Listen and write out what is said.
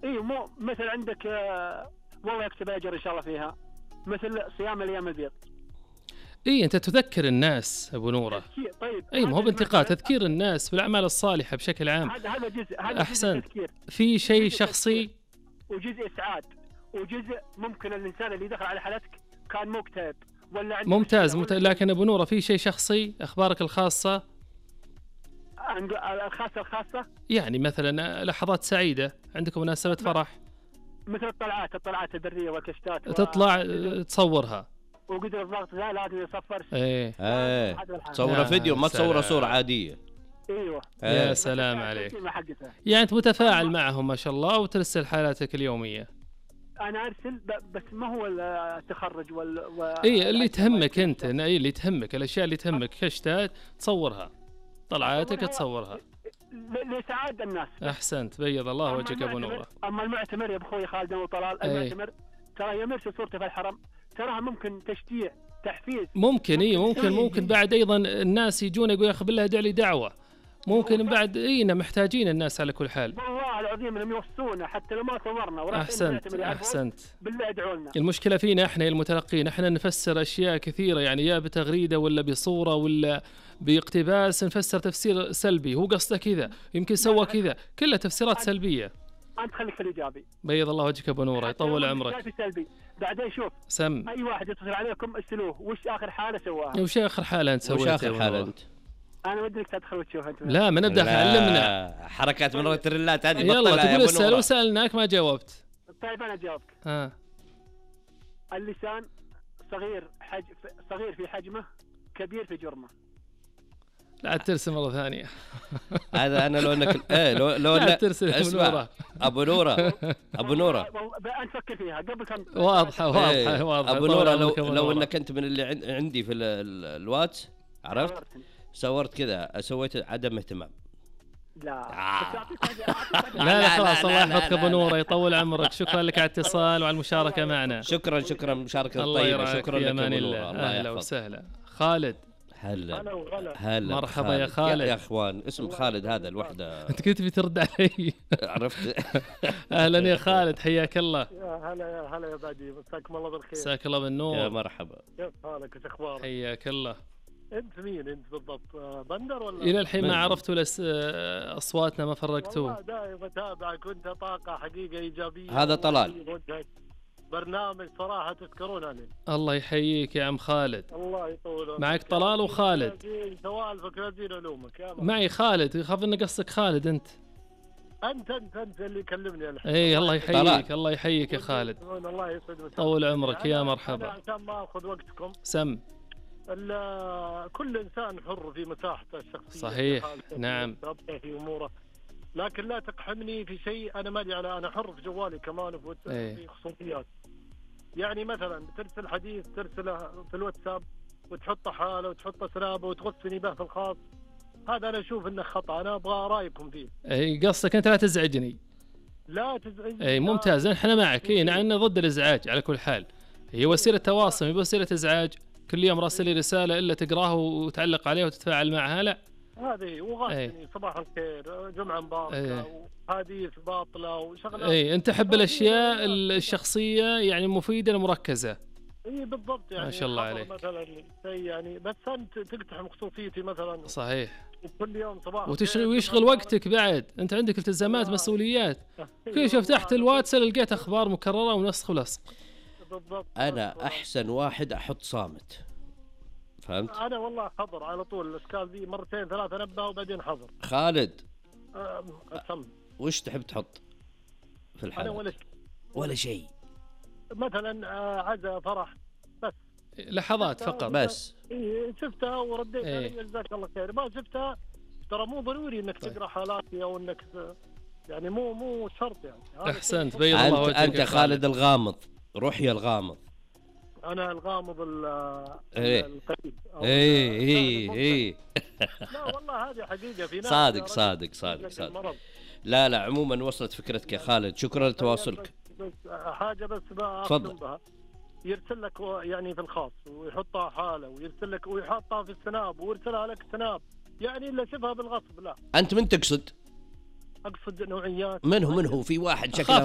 اي مو مثل عندك والله يكتب اجر ان شاء الله فيها، مثل صيام الايام البيض. اي انت تذكر الناس ابو نوره. طيب اي ما هو بانتقاد، تذكير الناس بالاعمال الصالحه بشكل عام. هذا جزء، هذا احسن تذكير. في شيء شخصي وجزء اسعاد، وجزء ممكن الانسان اللي دخل على حالتك كان مكتئب ولا ممتاز لكن ابو نوره في شيء شخصي، اخبارك الخاصه الخاصه يعني مثلا لحظات سعيده عندكم مناسبه فرح، مثل الطلعات البريه والكشتات تطلع تصورها وقدر الضغط لا لازم يصفر. تصور فيديو ما تصور صورة عادية. ايوه يا سلام عليك. يعني انت متفاعل معهم ما شاء الله وترسل حالاتك اليومية. انا ارسل بس ما هو التخرج اي اللي تهمك انت، اي اللي تهمك، الاشياء اللي تهمك كشتات تصورها، طلعاتك تصورها لسعادة الناس. احسنت، بيض الله وجهك ابو نوره. اما المعتمر يا اخوي خالد وطلال، المعتمر ترى يمرسل صورته في الحرم، تراها ممكن تشجيع تحفيز، ممكن ممكن بعد ايضا الناس يجون يقول يا اخي بالله ادعي لي دعوه، ممكن بعد اينا محتاجين الناس على كل حال. والله العظيم انهم يوصونا حتى لو ما صورنا. احسنت بالله ادعوا لنا. المشكله فينا احنا المتلقين، احنا نفسر اشياء كثيره، يعني يا بتغريده ولا بصوره ولا باقتباس، نفسر تفسير سلبي، هو قصده كذا يمكن سوى كذا، كلها تفسيرات سلبيه. انت خليك في الايجابي. بيض الله وجهك ابو نوره، يطول عمرك. بعدين شوف اي واحد يتصل عليكم اسالوه وش اخر حاله سواها. وش اخر حاله انت سويتها؟ وش اخر حاله انت؟ انا ودك تدخل وتشوف انت. لا ما نبدا، علمنا حركات من التريلات هذه. يلا تقول اسال وسالناك ما جاوبت. طيب انا جاوبك. اللسان صغير في حجمه، كبير في جرمه. لا ترسم مرة ثانية. هذا أنا لو إنك لا ترسم أبو نورة أنت فكر فيها قبل كم. واضحة. أبو نورة لو إنك أنت من اللي عندي في الواتس عرفت صورت كذا، سويت عدم اهتمام. لا خلاص الله يحفظك ابو نوره، يطول عمرك. شكرا لك على الاتصال وعلى المشاركة معنا. شكرا مشاركة طيبة. شكرا لك ابو نوره. أهلا وسهلا. خالد هلا مرحبا يا خالد. يا اخوان اسم خالد هذا الوحده. انت كنت بترد علي. عرفت. اهلا يا خالد، حياك الله. يا هلا يا بادي، مساكم الله بالخير. مساك الله بالنور. يا مرحبا. كيف حالك وش اخبارك؟ حياك الله. انت مين انت بالضبط؟ بندر ولا؟ الى الحين ما عرفتوا اصواتنا ما فرقتوا. والله دائما اتابعك وانت طاقه حقيقه ايجابيه. هذا طلال. برنامج صراحة تذكرون عليه. الله يحييك يا عم خالد. الله يطول معك طلال وخالد. سوالفك لازين علومك يا معي خالد، يخاف ان قصدك خالد انت اللي يكلمني الحين. اي الله يحييك. الله يحييك يا خالد. الله يسعدك. طول عمرك يا مرحبا. عشان ما اخذ وقتكم سم. كل انسان حر في مساحته الشخصية. صحيح نعم. في اموره، لكن لا تقحمني في شيء انا مالي على. انا حر في جوالي كمان في خصوصيات. يعني مثلا ترسل حديث ترسله في الواتساب وتحطه حاله وتحطه سنابه وتغثني به في الخاص، هذا انا اشوف انه خطا. انا ابغى رايكم فيه. اي قصدك انت لا تزعجني. لا تزعجني. اي ممتاز، احنا معك. اي نحن ضد الازعاج على كل حال. هي وسيله تواصل مو وسيله ازعاج. كل يوم راسل لي رساله الا تقراها وتعلق عليها وتتفاعل معها، لا هذه وغثني صباح الخير جمعه مباركه وحديث باطله وشغلات. اي انت تحب الاشياء الشخصيه يعني مفيده المركزه. اي بالضبط، يعني ما شاء الله عليك. مثلا شيء يعني بس انت تقتحم خصوصيتي مثلا. صحيح. كل يوم صباح ويشغل وقتك بعد، انت عندك التزامات مسؤوليات. كل شوف تحت الواتس لقيت اخبار مكرره ونسخ ولصق. بالضبط. انا احسن واحد احط صامت، فهمت؟ انا والله حضر على طول الاشكال ذي، مرتين ثلاثه نبه وبعدين حضر. خالد أسم. وش تحب تحط في الحالة؟ انا ولا شيء. مثلا عزا فرح بس لحظات فقط بس. شفتها ورديت علي جزاك الله خير. ما شفتها ترى مو ضروري انك تقرا حالاتي او انك يعني مو شرط يعني. احسنت بيض الله وجهك. انت خالد الغامض، روح يا الغامض. انا الغامض القريب. اي لا والله هذه حقيقه في ناس. صادق. لا عموما وصلت فكرتك يا خالد. شكرا لتواصلك. حاجه بس تفضل. بها يرسل لك يعني في الخاص ويحطها حاله ويرسل لك ويحطها في السناب ويرسلها لك سناب، يعني الا شبها بالغصب. لا انت من تقصد؟ اقصد نوعيات. من هو في واحد شكله